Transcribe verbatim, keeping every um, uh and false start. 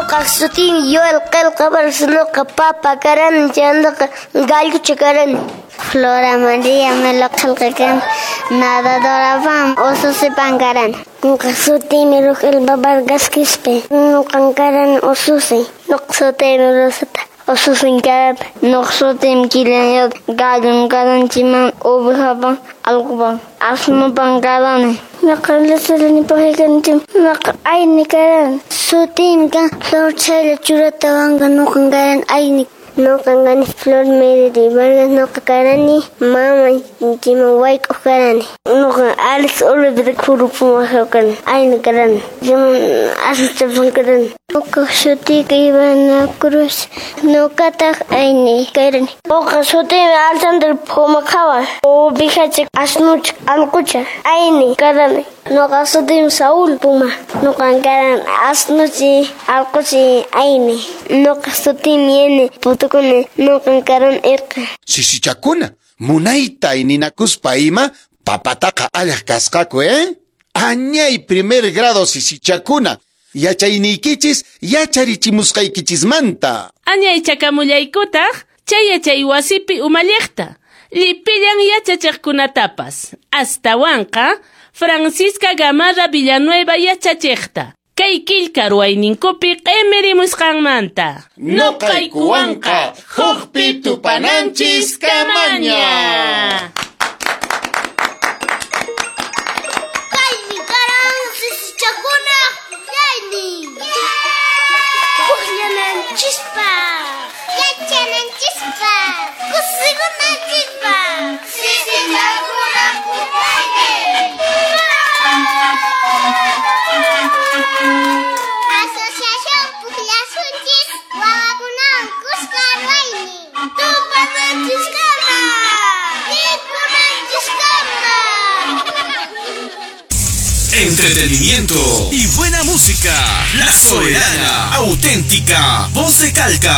Nuqa sutiymi Yoel Qelqa Vargas, nuqa papa karani, chaymantaqa gallucha karani. Flora María Melo Qelqa karani, nadadora ususipan karani. Nuqa sutiymi Rogelba Vargas Quispe, nuqan karani ususi. Nuqa sutiymi Rosita, ususin karani. Nuqa sutiymi Kilian, gallun karani, chayman ovejapan, allqupan, asnupan karani. Nuqa Luzalani Pujikani, nuqa ayni karani. Sutiymi kan Flor Chayla Churatawanqa, nuqan karani ayni. Nuqan kani Flor Meridi Vargas, nuqa karani mama chayman wayk'uq karani. Nuqa Alex Oliver Kurupumaqa karani, ayni karani. Chayman asnuchapan karani. Nuqa sutiyqa Ivana Cruz, nuqataq ayni karani. Nuqa sutiymi Alexander Pumakawa, ovejacha, asnucha, allqucha, ayni karani. Nuqa sutiymi Saúl Puma, nuqan karani asnuchi, allquchi, ayni. Nuqa sutiymi Yeni Putukuni, nuqan karani irqi. Sisichakuna, munayta ayninakuspa ima papataqa allaq kasqaku, eh? Añay primer grado sisichakuna, yachayniykichis yacharichimusqaykichismanta. Añay chakamullaykutaq chay yachay wasipi umalliqta, llipillan yachachiqkunatapas. Astawanqa Francisca Gamarra Villanueva yachachiqta. Kay killka ruwayninkupi q'imirimusqanmanta. Nuqaykuwanqa hukpi tupananchis kamaña. Kaymi karan sisichakunaq pukllaynin. Pukllananchispaq, yachananchispaq, kusikunanchispaq. Sisichakunaq pukllaynin. Asociación Pukllasunchis wawakunawan kuska ruwaynin. Tupananchiskama, rikunanchiskama. Entretenimiento y buena música. La Soberana, auténtica, voz de Calca.